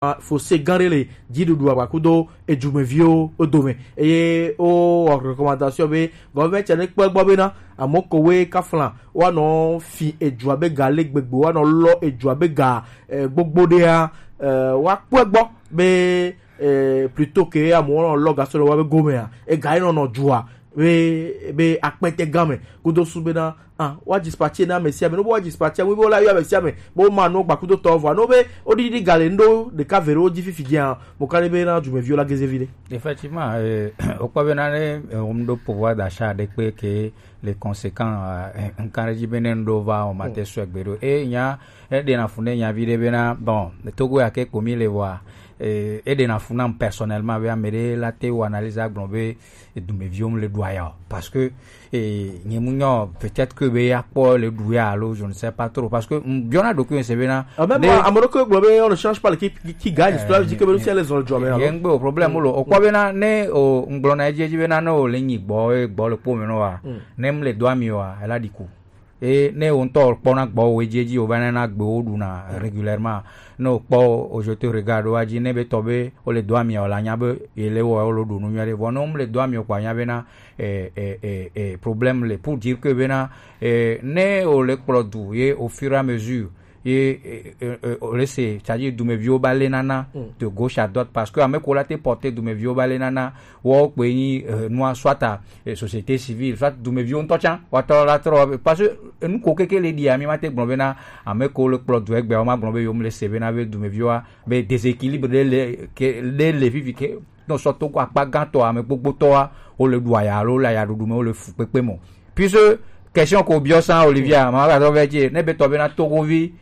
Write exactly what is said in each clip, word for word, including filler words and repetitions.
fossé gã ɖe le dziɖuɖu agbakudo edumeviwo dome. Eye wo wɔ recommandation be gɔvɛmɛnti ne kpɔ egbɔ bena amewo kowoe kafla woanɔ fi edu abe ga le gbegbe, woanɔ lɔ edu abe ga eh, gbogbo ɖea, eh, woakpɔ egbɔ be eh, plutôt que amewo nɔ lɔ gasɔ le woabe gomea, ega ye nɔnɔ dua be be akpɛtɛ gã me kudo su bena ah, woa dispatcher na ame sia ame, no be woa dispatcher, wo be wola yɔ ame sia ame be woma no gbakudo tɔ vɔa, no be woɖiɖi ga le ndo ɖeka ve ɖewo dzi fifi dzia, mo ka ɖe be na dumeviwo la geze vi ɖe. Effectivement, euh, wokpɔ bena ne eh, womɖo pouvoir d'achat ɖe kpe ke le conséquent, eh, nkan ɖe dzi be ne ŋɖo va o mate sue gbe ɖo. E nya eɖena fu ne nya vi ɖe bena bon, Togo ya ke kpo mi le vɔa, eh, eɖena fu nam personnellement be ame ɖe la te wo analyse agblɔ be edumeviwo mu le ɖu aya o, parce que eh, nye mu nyɔ peut-être que be ya kpɔ le ɖu ya alo je ne sais pas trop, parce que mm, biɔna ɖokui se bena Ah, même ne- moi, à Morocco, on ne change pas l'équipe qui, qui gagne. Cela veut dire que même si elle est dans le job, ye alors. Ŋgbe o problème lo. O kpɔ bena ne o ŋgblɔ na edzi edzi bena ne o le nyi gbɔ e gbɔ le kpo me no wa. Ne m le do ami wa, ela di ku. E ne o ŋutɔ kpɔ na gbɔ o edzi edzi o va na na gbe o ɖu na régulièrement. Ne o kpɔ o je te regarde wa dzi ne be tɔ be o le do ami o la nya be ye le wɔ o lo ɖu nu nyuie ɖe. Vɔ ne o m le do ami o kpɔ nya bena eh, eh, eh, eh, problème le pour dire que bena eh, ne o le kplɔ du ye au fur et à mesure ye eh, eh, eh, o le se, c'est-à-dire dumeviwo ba le nana de gauche à droite, parce que ame ko la te porter dumeviwo ba le nana wo kpe ni eh, nua soit à eh, société civile, soit dumeviwo ŋutɔ tsã wa tɔ la trɔ, parce que eh, nu ko keke le di ami ma te gblɔ bena ame ko le kplɔ du egbe o ma gblɔ be yo m le se bena be dumeviwa be déséquilibre de le ke de le vivi ke nɔ sɔ Togo akpa gãtɔ ame gbogbotɔa wo le ɖu aya alo le ayaɖuɖu me wo le fu kpekpe mɔ. Puisque question ko biɔ san Olivia ma va tɔ vɛ dzi ne be tɔ be na Togovi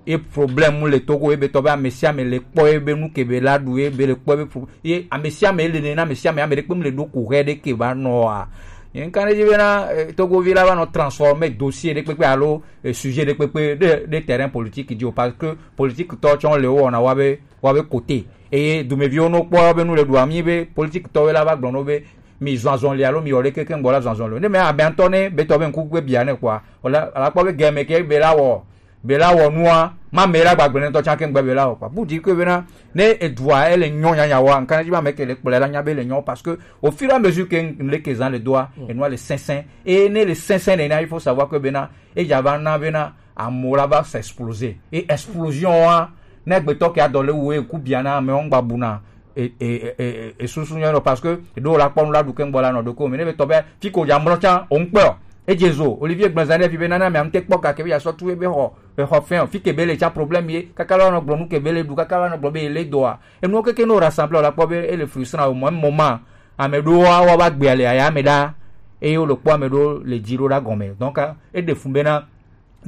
ye problème mu le Togo ye be tɔ be ame sia ame le kpɔ ye be nu ke be la ɖu ye be le kpɔ ye be pro ye ame sia ame le ne na ame sia ame ame ɖe kpe mu le ɖo ko hɛ ɖe ke va nɔ a. Ye nkan ɖe dzi be na eh, Togovi la va nɔ transformer dossier ɖe kpekpe alo eh, sujet ɖe kpekpe ɖe ɖe terrain politique dzi o, parce que politique tɔ tsɔ le wo wɔna wa be wa be côté. Eye dumeviwo no kpɔ be nu le ɖu ami be politique tɔwo la va gblɔ no be mi zɔn azɔli alo mi yɔ ɖe keke ŋgbɔ la zɔn azɔli o. Ne me abe ŋutɔ ne be tɔ be ŋku gbe bia ne kpɔa, o la la kpɔ be gɛmɛ ke be la wɔ be la wɔ nua ma me la gbagbe ne tɔ tsã ke ŋgbe be la wɔ kpɔa. Bu di ke be na ne edua ele nyɔ nyanya wa nkan dzi ma me ke le kplɔ la nya be le nyɔ, parce que au fur et à mesure que le ke zan le doa enua le sɛnsɛn. Et ne le sɛnsɛn ne na il faut savoir que be na e dza va na be na amewo la va se exploser. Et explosion wa ne gbetɔ ke adɔ le wo eku bia na amewo ŋgba bu na e e e e e susu nyɔ nɔ, parce que ɖo la kpɔ nu la ɖu ke ŋgbɔ la nɔ ɖo ko mi ne be tɔ be fi ko dza mlɔ tsã o ŋkpɛ o. Edze zo Olivier gblɔ zan ɖe fi be nana mi am te kpɔ gake be ya sɔ tu be xɔ be xɔ fɛn o, fi ke be le tsa problème ye kaka la nɔ gblɔ nu ke be le ɖu kaka la nɔ gblɔ be le dɔa enuwo keke no rassembler la kpɔ be ele frustrant o mɔ mɔ ma ame ɖo wa wa va gbea le aya ame ɖa eye wo le kpɔ ame ɖo le dzi ɖo ɖa gɔme, donc e ɖe fun be na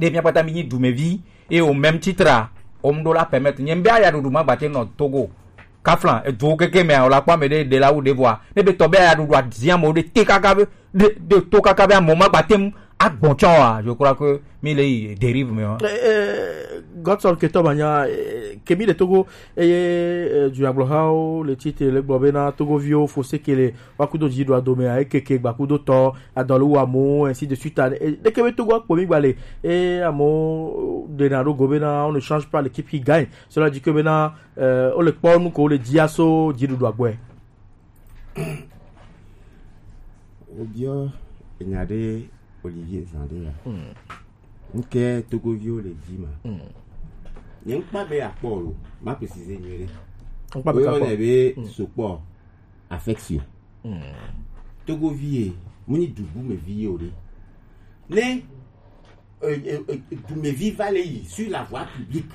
ɖe mía kpata mi nyi dumevi eye au même titre a wo mu ɖo la permettre nye be aya ɖuɖu ma gbate nɔ Togo kafla eduwo keke mea o la kpɔ ame ɖe ɖe la wu ɖe vɔa ne be tɔ be aya ɖuɖu adia mo ɖe te kaka be ɖe ɖe to kaka be amo ma gbate mu agbɔn tsɔ wa, je crois que mi le yi dérive me wa. Eh, eh, Godson Ketɔ Banya, eh, ke mi le Togo, eye eh, du agblɔhawo le titre le gblɔ be na Togoviwo fo sekele wa kudo dzi ɖo adome a ekeke gba kudo tɔ adɔlu wa mo ainsi de suite a, eh, ɖeke be Togo akpo mi gba le eh, amo ɖe na ɖo go be na on ne change pas l'équipe qui gagne. Cela dit que be na eh, o le kpɔ nu ko le dzi aso dziɖuɖu agbɔe. Wobiɔ enya ɖe Olivier zan ɖe ya. Nke Togoviwo le dzi ma. Nye ŋkpa be akpɔ lo, ma préciser nyuie ɖe. Ŋkpa be kakpɔ. Woyɔnɛ be sokpɔ affection. Togovi ye, mu nyi dubu me vi ye o ɖe. Ne eh, eh, eh, dumevi va le yi sur la voie publique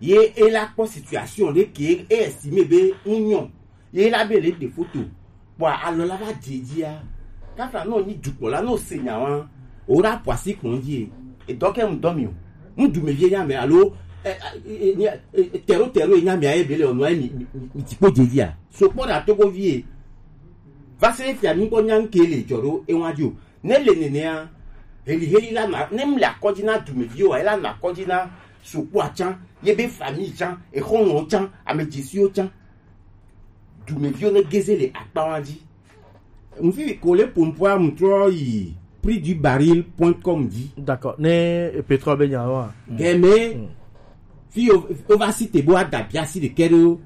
ye e la kpɔ situation ɖe ke e estimé be ŋu nyɔ ye la be le ɖe photo kpɔa alɔ la va dze dzia kaka nɔ nyi dukpɔ la nɔ se nya wa o ɖa pɔ asi kpɔn dzi e dɔ ke ŋu dɔ mi o ŋu dumevi nya mɛ alo eh, eh, eh, nya- eh, eh, tɛro tɛro nya mɛ aye be le ɔnɔ ayi mi mi- mi- mi ti kpo dze dzia so kpɔ ɖa Togovi ye va se fia mi kpɔ nya ŋke le dzɔ ɖo e wa dzi o Ne le nenea, heliheli la na, ne mle akɔdzi na dumeviwo, ela na akɔdzi na sokpoa tsã, yebe famille tsã, exɔlɔ̃wo tsã, amedzesiwo tsã. Dumeviwo ne geze le akpawa dzi. Ŋfi ko le pompoa mutrɔ yi prix du baril point com dzi. D'accord. Ne pétrole be nya wa. Gɛmɛ fi o o va si te bo ada biasi de kɛ ɖo